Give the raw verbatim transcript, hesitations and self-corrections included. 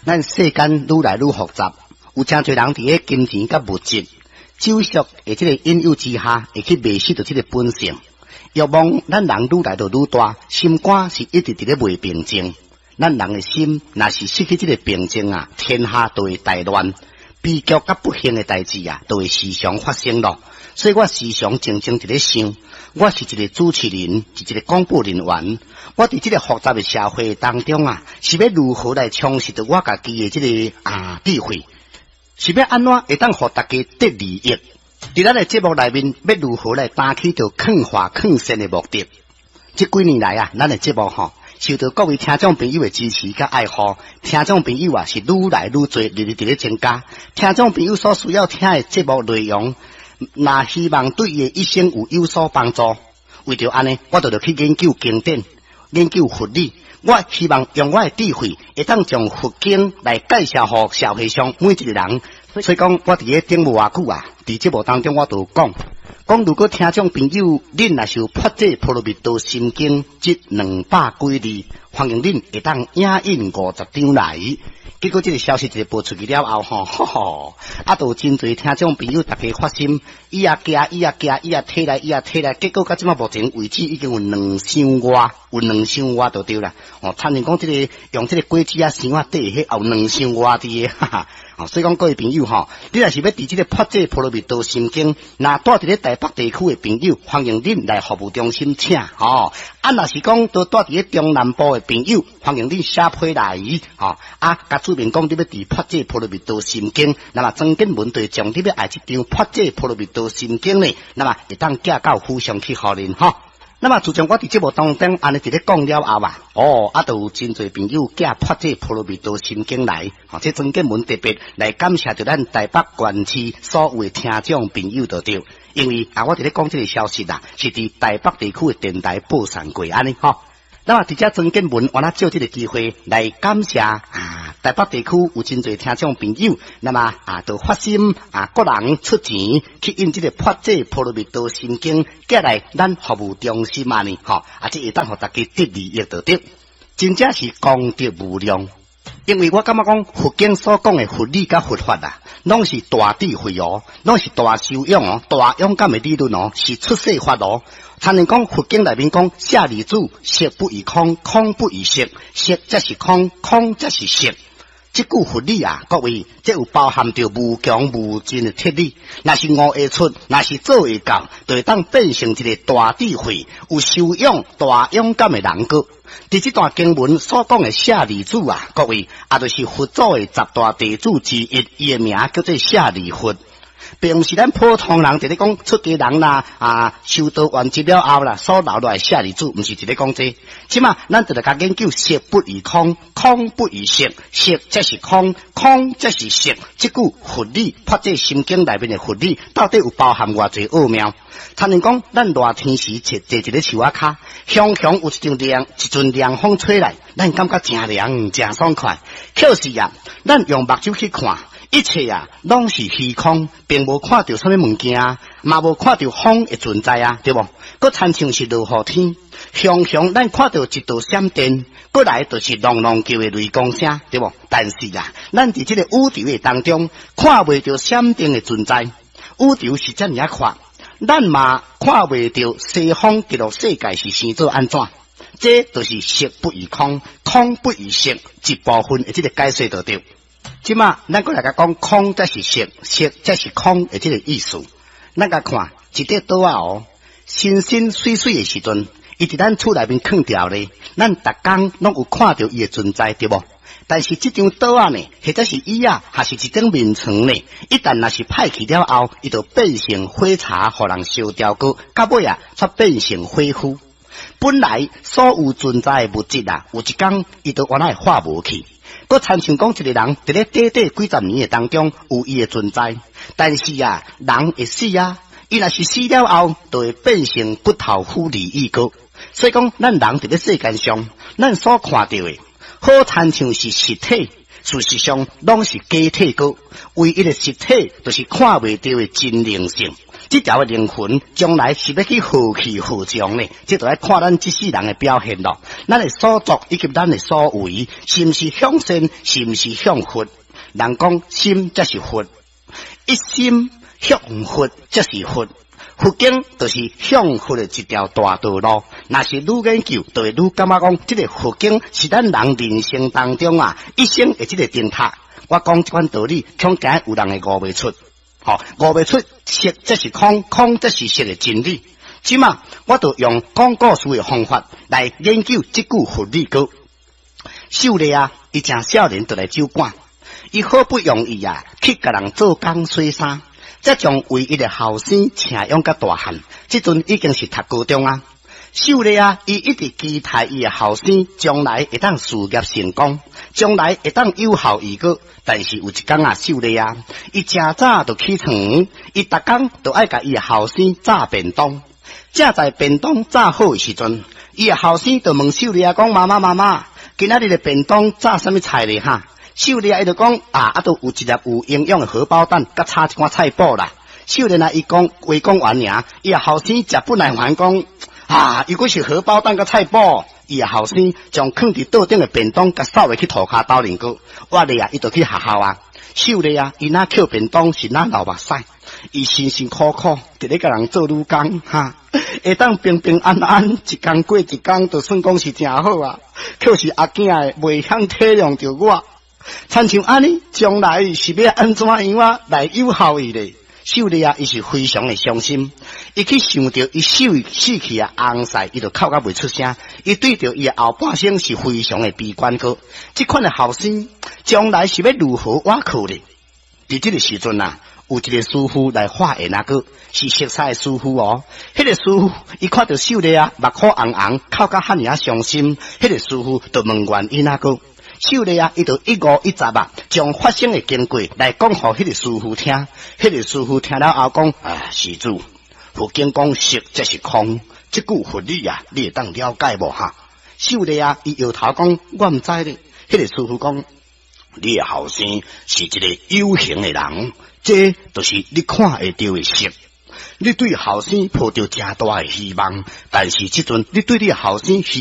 咱世間愈來愈複雜，有誠濟人佇咧金錢佮物質、酒色的這個引誘之下，會去迷失著這個本性。欲望咱人愈來就愈大，心肝是一直佇咧袂平靜。咱人的心若是失去這個平靜啊，天下就會大亂，悲劇佮不幸的代誌啊，就會時常發生咯。所以我時常靜靜佇咧想，我是一個主持人，是一個廣播人員。我佇這個複雜的社會當中啊，是欲如何來充實著我家己的這個啊智慧？是欲按怎會當予大家得利益？佇咱的節目內面，欲如何來擔起著勸化勸善的目的？這幾年來啊，咱的節目吼，受到各位聽眾朋友的支持佮愛護，聽眾朋友啊是愈來愈濟，日日佇咧增加。聽眾朋友所需要聽的節目內容，若希望對伊的一生有有所幫助，為著按呢，我就著去研究經典，研究佛理。我希望用我的智慧，會當將佛經來介紹予社會上每一個人。所以講，我佇咧頂無偌久啊，佇節目當中我就講，講如果聽眾朋友恁若是有破這波羅蜜多心經這兩百幾字，歡迎恁會當影印五十張來。結果這個消息一個播出去了後，吼，吼吼，啊，就有真濟聽眾朋友逐家發心，伊也寄，伊也寄，伊也提來，伊也提來，結果到這馬目前為止已經有兩箱外，有兩箱外就對啦。哦，親像講這個用這個果子仔箱仔底，彼有兩箱外佇个，哈哈。哦，所以講各位朋友吼，你若是欲佇這個破這波羅蜜多心經，若住佇咧台北地區的朋友，歡迎恁來服務中心請吼。啊，若是講都住佇咧中南部的朋友，歡迎恁寫批來，吼。啊，共註明講你欲佇破這波羅蜜多心經，那麼曾經文對將你欲愛這張破這波羅蜜多心經呢，那麼會當寄到府上去予恁吼。那麼自從我佇節目當中按呢佇咧講了後啊，哦，啊，就有真濟朋友寄破這波羅蜜多心經來，吼，這曾建文特別來感謝著咱台北縣市所有的聽眾朋友就對，因為啊，我佇咧講這個消息啊，是佇台北地區的電台播送過按呢吼。那麼佇遮曾建文，我若借這個機會來感謝啊，台北地區有真濟聽眾朋友，那麼啊，就發心啊，個人出錢去印這個破這波羅蜜多心經，寄來咱服務中心按呢，吼，啊，這會當予大家得利益就對，真正是功德無量。因為我感覺講佛經所講的佛理佮佛法啊，攏是大智慧哦，攏是大修養哦，大勇敢的理論哦，是出世法哦。親像講佛經內面講，舍利子，色不異空，空不異色，色即是空，空即是色。這句佛理啊，各位，這有包含著無窮無盡的鐵理。若是悟會出，若是做會到，就會當變成一個大智慧、有修養、大勇敢的人格。佇這段經文所講的舍利子啊，各位，也就是佛祖的十大弟子之一，伊的名叫做舍利弗。並毋是咱普通人佇咧講出家人啦，啊，修道完成了後啦，所留落來舍利子，毋是佇咧講這。這馬咱就來共研究色不異空，空不異色，色即是空，空即是色。這句佛理，破這心經內面的佛理，到底有包含偌濟奧妙？親像講，咱熱天時坐坐一个樹仔跤，雄雄有一陣涼，一陣涼風吹來，咱感覺誠涼，誠爽快。可是啊，咱用目睭去看，一切啊，攏是虛空，並無看著啥物物件，嘛無看著風的存在啊，對無？閣親像是落雨天，雄雄咱看著一道閃電，過來就是隆隆叫的雷公聲，對無？但是啊，咱佇這個宇宙的當中，看袂著閃電的存在，宇宙是遮爾仔闊，咱嘛看袂著西方極樂世界是生做按怎？這就是色不異空，空不異色，一部分的這個解說就對。這馬咱閣來共講空才是色，色才是空的這個意思。咱共看一塊桌仔哦，新新媠媠的時陣，伊佇咱厝內面囥著咧，咱逐工攏有看著伊的存在，對無？但是這張桌仔呢，或者是椅仔，還是一張眠床呢？一旦若是歹去了後，伊就變成火柴，予人燒掉過，到尾啊，才變成火灰。本來所有存在的物質啊，有一工伊就原來化無去。閣親像講一個人佇咧短短幾十年的當中有伊的存在，但是啊，人會死啊，伊若是死了後，就會變成骨頭腐離意過。所以講，咱人佇咧世間上，咱所看著的，好親像是實體，事實上攏是假體閣。唯一的實體，就是看袂著的真靈性。這條的靈魂將來是欲去何去何從呢？這就愛看咱這世人的表現囉。咱的所作以及咱的所為，是毋是向善，是毋是向佛？人講心才是佛，一心向佛才是佛。佛經就是向佛的一條大道路。若是愈研究，就會愈感覺講，這个佛經是咱人人生當中啊，一生的這个燈塔。我講這款道理，恐驚有人會悟袂出。吼，悟袂出色則是空，空則是色的真理。這馬我就用講故事的方法來研究這句佛理歌。秀麗啊，伊誠少年就來酒館，伊好不容易啊，去共人做工洗衫，才將唯一的後生請養甲大漢。這陣已經是讀高中啊。秀麗啊，伊一直期待伊的後生將來會當事業成功，將來會當有後遺閣。但是有一工啊，秀麗啊，伊誠早就起床，伊逐工都愛共伊的後生炸便當。正在便當炸好的時陣，伊的後生就問秀麗啊，講媽媽媽媽，今仔日的便當炸啥物菜咧？哈？秀麗啊，伊就講啊，啊，都有一粒有營養的荷包蛋，佮炒一寡菜脯啦。秀麗啊，伊講話講完爾，伊的後生食不耐煩講啊，如果是荷包蛋佮菜脯，伊的後生將囥佇桌頂的便當共掃下去塗跤兜面閣，我咧啊，伊就去學校啊。秀麗啊，伊若抾便當是若流目屎，伊辛辛苦苦佇咧共人做女工，哈，會當平平安安一工過一工，就算講是誠好啊。可是阿囝的袂曉體諒著我，親像按呢，將來是欲按怎樣啊來有效伊咧？秀麗啊，伊是非常的傷心，伊去想著伊死死去的翁婿，伊就哭甲袂出聲。伊對著伊的後半生是非常的悲觀閣。這款的後生將來是欲如何倚靠咧？佇這个時陣啊，有一个師父來化緣啊，閣是熟似的師父哦。彼个師父伊看著秀麗啊，目眶紅紅，哭甲遐爾仔傷心。彼个師父就問原因啊，閣。秀麗啊，伊就一五一十啊，將發生的經過來講予彼个師父聽。彼个師父聽了後講：啊，施主，佛經講色即是空，這句佛理啊，你會當了解無哈？秀麗啊，伊搖頭講：我毋知咧。彼个師父講：你的後生是一个有形的人，這就是你看會著的色。你對後生抱著誠大的希望，但是這陣你對你的後生希